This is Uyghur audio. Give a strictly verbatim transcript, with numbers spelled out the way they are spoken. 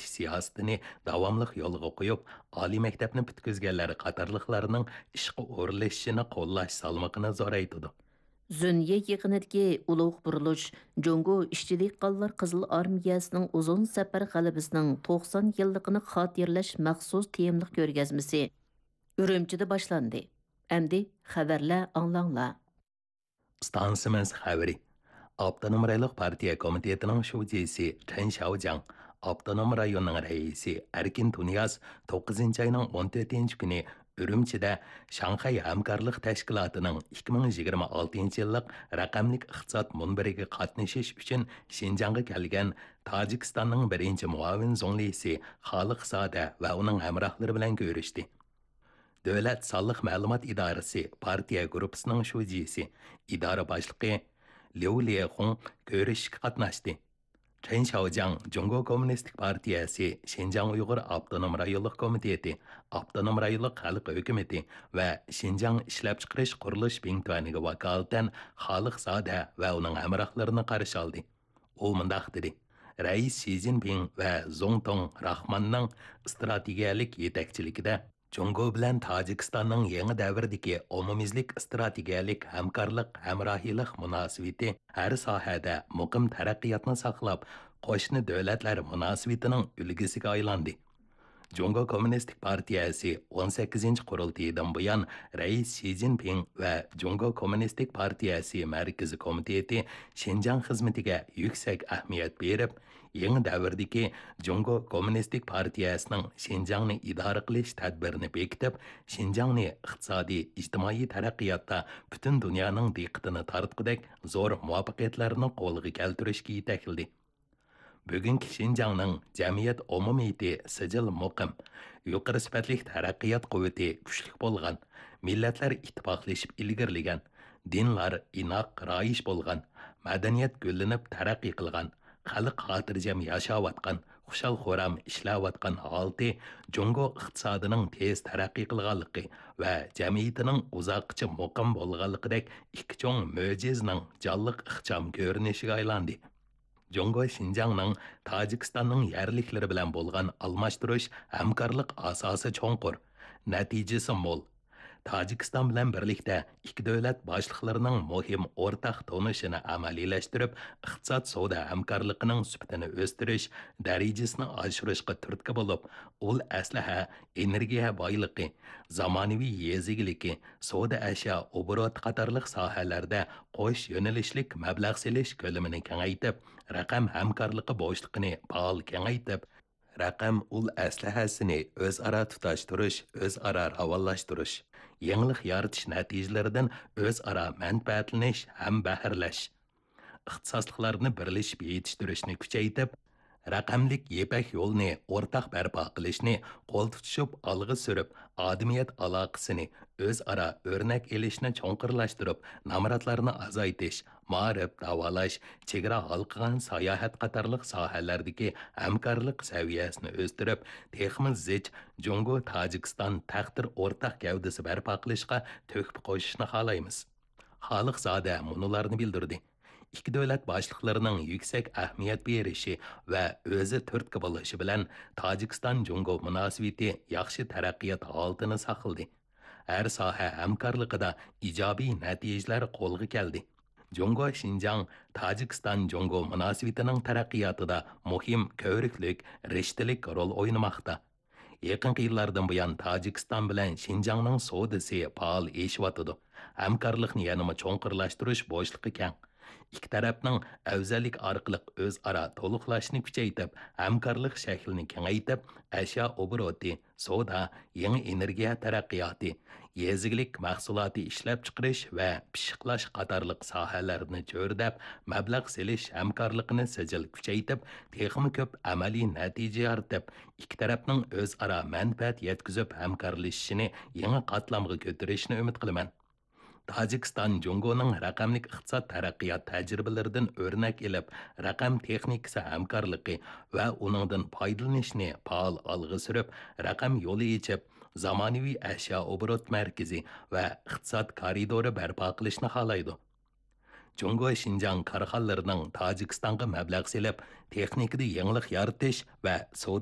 كۈچىتىش سىياسىتىنى داۋاملىق يولغا قويۇپ، ئالىي مەكتەپنى پۈتكۈزگەنلەر قاتارلىقلارنىڭ ئىشقا ئورۇنلىشىشىنى قوللاش سالمىقىنى زورايتىدۇ. زۈنيې يېقىنىدىكى ئۇلۇغ بۇرۇلۇش، جۇڭگو ئىشچىلىك قانلار قىزىل ئارمىيەسىنىڭ ئۇزۇن سەپەر غەلىبىسىنىڭ توقسان يىللىقىنى خاتىرىلەش مەخسۇس تېمىلىق كۆرگەزمىسى ئۈرۈمچىدە باشلاندى. ئەمدى خەۋەرلەر ئاڭلاڭلار. ئىستانسىمىز خەۋىرى. ئاپتونوم رايونلۇق پارتىيە كومىتېتىنىڭ شۇجىسى چېن شياۋجياڭ ئاپتونوم رايوننىڭ رەئىسى ئەركىن تۇنىياز توققۇزىنچى ئاينىڭ ئون تۆتىنچى كۈنى ئۈرۈمچىدە شاڭخەي ھەمكارلىق تەشكىلاتىنىڭ ئىككى مىڭ يىگىرمە ئالتىنچى يىللىق رەقەملىك ئىقتىساد مۇنبىرىگە قاتنىشىش ئۈچۈن شىنجاڭغا كەلگەن تاجىكىستاننىڭ بىرىنچى مۇئاۋىن زۇڭلىسى خالىق زادە ۋە ئۇنىڭ ھەمراھلىرى بىلەن كۆرۈشتى. دۆلەت سانلىق مەلۇمات ئىدارىسى پارتىيە گۇرۇپپىسىنىڭ شۇجىسى، ئىدارە باشلىقى ليۇ ليېخۇڭ كۆرۈشۈشكە قاتناشتى. چېن شياۋجياڭ جۇڭگو كوممۇنىستىك پارتىيەسى شىنجاڭ ئۇيغۇر ئاپتونوم رايونلۇق كومىتېتى، ئاپتونوم رايونلۇق خەلق ھۆكۈمىتى ۋە شىنجاڭ ئىشلەپچىقىرىش قۇرۇلۇش بىڭتۈەنىگە ۋاكالىتەن خالىق زادە ۋە ئۇنىڭ ھەمراھلىرىنى قارشى ئالدى. ئۇ مۇنداق دېدى، رەئىس شى جىنپىڭ ۋە زۇڭتۇڭ راخماننىڭ ئىستراتېگىيەلىك يېتەكچىلىكىدە جۇڭگو بىلەن تاجىكىستاننىڭ يېڭى دەۋردىكى ئومۇميۈزلۈك ئىستراتېگىيەلىك ھەمكارلىق، ھەمراھىيلىق مۇناسىۋىتى ھەر ساھەدە مۇقىم تەرەققىياتنى ساقلاپ، قوشنا دۆلەتلەر مۇناسىۋىتىنىڭ ئۈلگىسىگە ئايلاندى. جۇڭگو كوممۇنىستىك پارتىيەسى ئون سەككىزىنچى قۇرۇلتىيىدىن بۇيان، رەئىس شى جىنپىڭ ۋە جۇڭگو كوممۇنىستىك پارتىيەسى مەركىزىي كومىتېتى شىنجاڭ خىزمىتىگە يۈكسەك ئەھمىيەت بېرىپ، يېڭى دەۋردىكى جۇڭگو كوممۇنىستىك پارتىيەسىنىڭ شىنجاڭنى ئىدارە قىلىش تەدبىرىنى بېكىتىپ، شىنجاڭنى ئىقتىسادىي، ئىجتىمائىي تەرەققىياتتا پۈتۈن دۇنيانىڭ دىققىتىنى تارتقۇدەك زور مۇۋەپپەقىيەتلەرنى قولغا كەلتۈرۈشكە يېتەكلىدى. بۈگۈنكى شىنجاڭنىڭ جەمئىيەت ئومۇمىيىتى سىجىل مۇقىم، يۇقىرى سۈپەتلىك تەرەققىيات قۇۋۋىتى كۈچلۈك بولغان، مىللەتلەر ئىتتىپاقلىشىپ ئىلگىرىلىگەن، دىنلار ئىناق رايىش بولغان، مەدەنىيەت گۈللىنىپ تەرەققىي قىلغان، خەلق خاتىرجەم ياشاۋاتقان، خۇشال-خۇرام ئىشلەۋاتقان ھالىتى جۇڭگو ئىقتىسادىنىڭ تېز تەرەققىي قىلغانلىقى ۋە جەمئىيىتىنىڭ ئۇزاققىچە مۇقىم بولغانلىقىدەك ئىككى چوڭ مۆجىزىنىڭ جانلىق ئىخچام كۆرۈنۈشىگە ئايلاندى. جۇڭگو شىنجاڭنىڭ تاجىكىستاننىڭ يەرلىكلىرى بىلەن بولغان ئالماشتۇرۇش، ھەمكارلىق ئاساسى چوڭقۇر، نەتىجىسى مول. تاجىكىستان بىلەن بىرلىكتە ئىككى دۆلەت باشلىقلىرىنىڭ مۇھىم ئورتاق تونۇشىنى ئەمەلىيلەشتۈرۈپ، ئىقتىساد سودا ھەمكارلىقىنىڭ سۈپىتىنى ئۆستۈرۈش، دەرىجىسىنى ئاشۇرۇشقا تۈرتكە بولۇپ، ئۇل ئەسلىھە، ئېنېرگىيە بايلىقى، زامانىۋى يېزا ئىگىلىكى، سودا ئەشيا ئوبوروتى قاتارلىق ساھەلەردە قوش يۆنىلىشلىك مەبلەغ سېلىش كۆلىمىنى كېڭەيتىپ، رەقەم ھەمكارلىقى بوشلۇقىنى پائال كېڭەيتىپ، رەقەم ئۇل ئەسلىھەسىنى ئۆزئارا تۇتاشتۇرۇش، ئۆزئارا راۋانلاشتۇرۇش، يېڭىلىق يارىتىش نەتىجىلىرىدىن ئۆزئارا مەنپەئەتلىنىش ھەم بەھرىلەش، ئىختىساسلىقلارنى بىرلىشىپ يېتىشتۈرۈشنى كۈچەيتىپ، رەقەملىك يىپەك يولىنى ئورتاق بەرپا قىلىشنى قول تۇتۇشۇپ ئالغا سۈرۈپ، ئادەمىيەت ئالاقىسىنى ئۆزئارا ئۆرنەك ئېلىشنى چوڭقۇرلاشتۇرۇپ، نامراتلارنى ئازايتىش، مائارىپ، داۋالاش، چېگرا ھالقىغان ساياھەت قاتارلىق ساھەلەردىكى ھەمكارلىق سەۋىيەسىنى ئۆستۈرۈپ، تېخىمۇ زىچ جۇڭگو تاجىكىستان تەقدىر ئورتاق گەۋدىسى بەرپا قىلىشقا تۆھپە قوشۇشنى خالايمىز. خالىق زادە مۇنۇلارنى بىلدۈردى. ئىككى دۆلەت باشلىقلىرىنىڭ يۈكسەك ئەھمىيەت بېرىشى ۋە ئۆزى تۈرتكە بولۇشى بىلەن تاجىكىستان جۇڭگو مۇناسىۋىتى ياخشى تەرەققىيات ھالىتىنى ساقلىدى. ھەر ساھە ھەمكارلىقىدا ئىجابىي نەتىجىلەر قولغا كەلدى. جۇڭگو شىنجاڭ تاجىكىستان جۇڭگو مۇناسىۋىتىنىڭ تەرەققىياتىدا مۇھىم كۆۋرۈكلۈك، رىشتىلىك رول ئوينىماقتا. يېقىنقى يىللاردىن بۇيان تاجىكىستان بىلەن شىنجاڭنىڭ سودىسى پائال ئېشىۋاتىدۇ. ھەمكارلىقنى يەنىمۇ چوڭقۇرلاشتۇرۇش بوشلۇقى كەڭ. ئىككى تەرەپنىڭ ئەۋزەللىك ئارقىلىق ئۆزئارا تولۇقلاشنى كۈچەيتىپ، ھەمكارلىق شەكلىنى كېڭەيتىپ، ئەشيا ئوبوروتى، سودا، يېڭى ئېنېرگىيە تەرەققىياتى، يېزا ئىگىلىك مەھسۇلاتى ئىشلەپچىقىرىش ۋە پىششىقلاش قاتارلىق ساھەلەرنى چۆرىدەپ، مەبلەغ سېلىش ھەمكارلىقىنى سىجىل كۈچەيتىپ، تېخىمۇ كۆپ ئەمەلىي نەتىجە يارىتىپ، ئىككى تەرەپنىڭ ئۆزئارا مەنپەئەت يەتكۈزۈپ ھەمكارلىشىشىنى يېڭى قاتلامغا كۆتۈرۈشنى ئۈمىد قىلىمەن. تاجىكىستان جۇڭگونىڭ رەقەملىك ئىقتىساد تەرەققىيات تەجرىبىلىرىدىن ئۆرنەك ئېلىپ، رەقەم تېخنىكىسى ھەمكارلىقى ۋە ئۇنىڭدىن پايدىلىنىشنى پائال ئالغا سۈرۈپ، رەقەم يولى ئېچىپ، زامانىۋى ئەشيا ئوبوروت مەركىزى ۋە ئىقتىساد كارىدورى بەرپا قىلىشنى خالايدۇ. جۇڭگو شىنجاڭ كارخانىلىرىنىڭ تاجىكىستانغا مەبلەغ سېلىپ، تېخنىكىدا يېڭىلىق يارىتىش ۋە سودا